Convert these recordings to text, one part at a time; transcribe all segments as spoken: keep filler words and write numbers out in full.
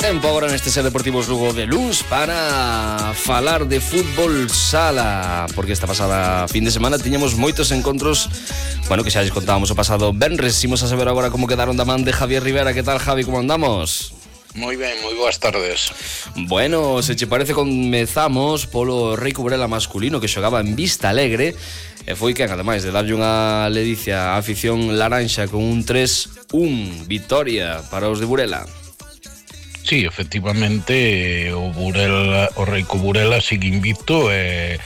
Tempo agora neste Ser Deportivos Lugo de Luns para falar de fútbol sala, porque esta pasada fin de semana tiñamos moitos encontros, bueno, que xa lles contábamos o pasado venres. Imos a saber agora como quedaron da man de Javier Rivera. Que tal, Javi, como andamos? Moi ben, moi boas tardes. Bueno, se che parece, comezamos polo Rei Cuburela masculino, que xogaba en Vista Alegre e foi que, ademais de darlle unha ledicia á afición laranxa con un tres un, victoria para os de Burela. Sí, efectivamente, o Burela, o Rei Cuburela sigue invicto e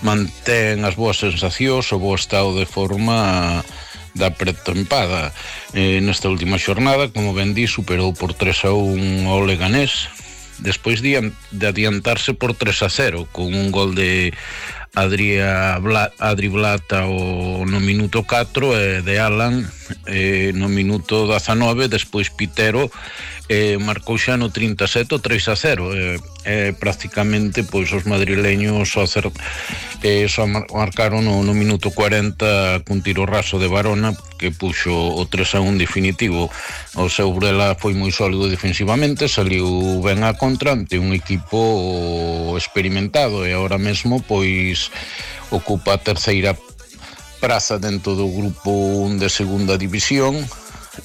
mantén as boas sensacións, o bo estado de forma da pretempada. Eh, nesta última xornada, como ben di, superou por tres a un ao Leganés, despois de, de adiantarse por tres a cero, con un gol de Adria Bla, Adri Blata o, no minuto catro e de Alan eh, no minuto dezanove, despois Pitero eh, marcou xa no trinta e sete o tres a cero. Eh, eh, prácticamente pois os madrileños só, cer, eh, só mar, marcaron no, no minuto cuarenta cun tiro raso de Barona que puxo o tres a un definitivo. O seu Burela foi moi sólido defensivamente, saliu ben a contra ante un equipo experimentado e ahora mesmo pois ocupa a terceira praza dentro do grupo un de segunda división,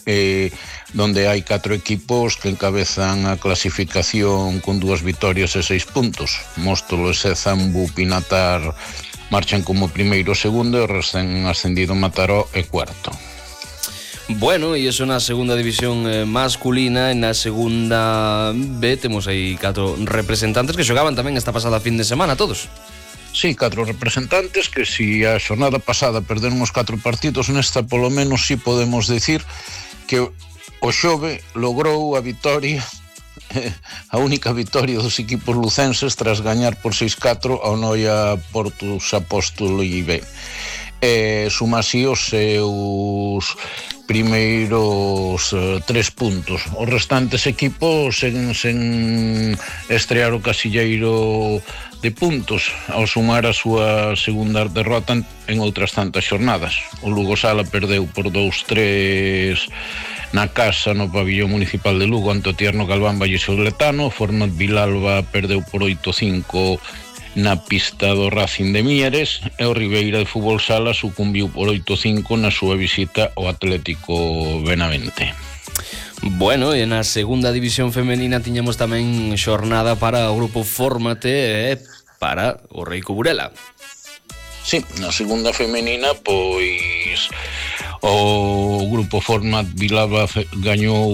eh, donde hai catro equipos que encabezan a clasificación con dúas vitorias e seis puntos. Móstolo, Zambu, Pinatar marchan como primeiro e segundo, e o recén ascendido Mataró e cuarto. Bueno, e iso na segunda división eh, masculina. En na segunda B temos aí catro representantes que xogaban tamén esta pasada fin de semana, todos. Sí, catro representantes que si a xornada pasada perderon os catro partidos, nesta polo menos si podemos decir que o Xove logrou a vitoria, a única vitoria dos equipos lucenses tras gañar por seis catro ao Noia Portus Apóstolo I B. E suma así os seus primeiros uh, tres puntos. Os restantes equipos seguen sen estrear o casilleiro de puntos ao sumar a súa segunda derrota en outras tantas xornadas. O Lugo Sala perdeu por dous tres na casa no pabillón municipal de Lugo ante o Tierno Galván Vallesoletano. Format Vilalba perdeu por oito cinco na pista do Racing de Mieres e o Ribeira de Fútbol Sala sucumbiu por oito cinco na súa visita ao Atlético Benavente. Bueno, e na segunda división femenina tiñamos tamén xornada para o grupo Fórmate e para o Rei Cuburela. Sí, na segunda femenina, pois o grupo Format Vilalba gañou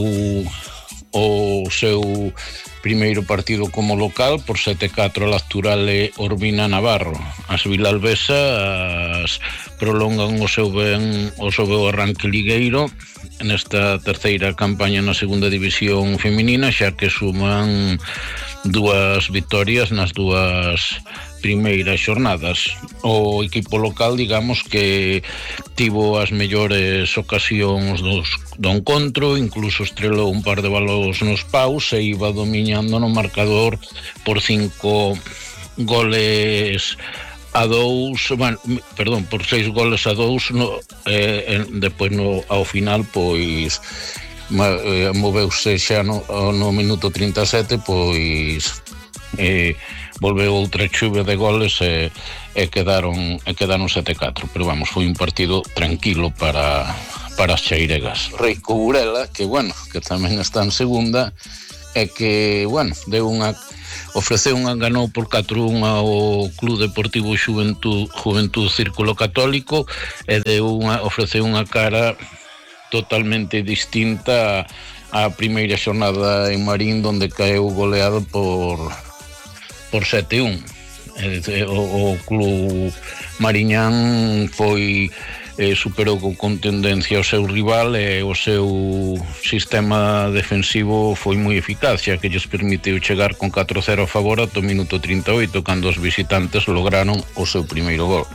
o seu primeiro partido como local por sete catro a Lacturale Orbina Navarro. As vilalbesas prolongan o seu ben o seu arranque ligueiro nesta terceira campaña na segunda división feminina, xa que suman dúas vitorias nas dúas primeiras xornadas. O equipo local, digamos que tivo as mellores ocasións dos, do encontro, incluso estrelou un par de balóns nos paus e iba dominando no marcador por cinco goles a dous, bueno, perdón, por seis goles a dous, no, eh, depois no, ao final, pois eh, moveuse xa no, no minuto trinta e sete, pois eh, volveu outra chuva de goles e, e quedaron e quedaron sete catro, pero vamos, foi un partido tranquilo para para as cheiregas. Rei Cuburela, que bueno, que tamén está en segunda e que, bueno, deu unha ofreceu unha ganou por catro un ao Club Deportivo Xuventud Juventud Círculo Católico e deu unha ofreceu unha cara totalmente distinta á primeira xornada en Marín, donde caeu goleado por por sete un. O, o club mariñán foi eh, superou con tendencia o seu rival e o seu sistema defensivo foi moi eficaz, xa que lles permitiu chegar con catro cero a favor ata o minuto trinta e oito, cando os visitantes lograron o seu primeiro gol.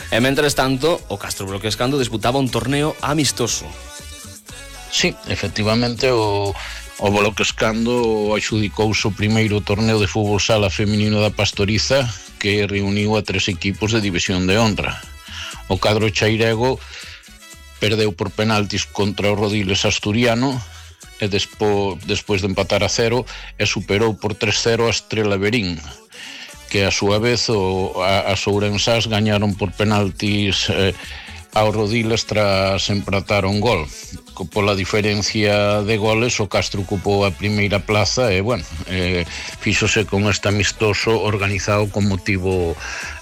E mentres tanto, o Castro Broquescando disputaba un torneo amistoso. Sí, efectivamente, o O Bloquescando adxudicouse o primeiro torneo de fútbol sala feminino da Pastoriza, que reuniu a tres equipos de división de honra. O cadro chairego perdeu por penaltis contra o Rodiles asturiano e despo, despois de empatar a cero e superou por tres cero a Estrela Verín, que a súa vez o, a, as ourensás gañaron por penaltis eh, ao Rodiles tras empatar un gol. Pola diferencia de goles, o Castro ocupou a primeira plaza e, bueno, eh, fíxose con este amistoso organizado con motivo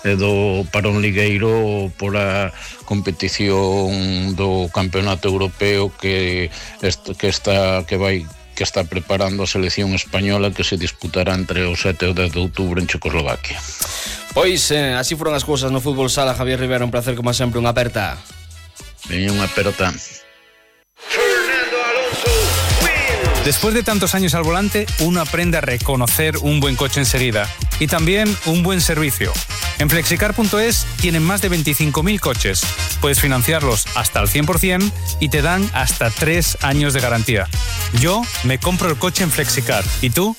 eh, do parón ligueiro por a competición do Campeonato Europeo que, est- que está que vai que está preparando a selección española, que se disputará entre o sete e o dez de outubro en Checoslovaquia. Pois, eh, así foron as cousas no fútbol sala. Javier Rivera, un placer como sempre, unha aperta. Veña unha aperta. Después de tantos años al volante, uno aprende a reconocer un buen coche enseguida y también un buen servicio. En flexicar punto es tienen más de veinticinco mil coches. Puedes financiarlos hasta el cien por ciento y te dan hasta tres años de garantía. Yo me compro el coche en Flexicar. ¿Y tú?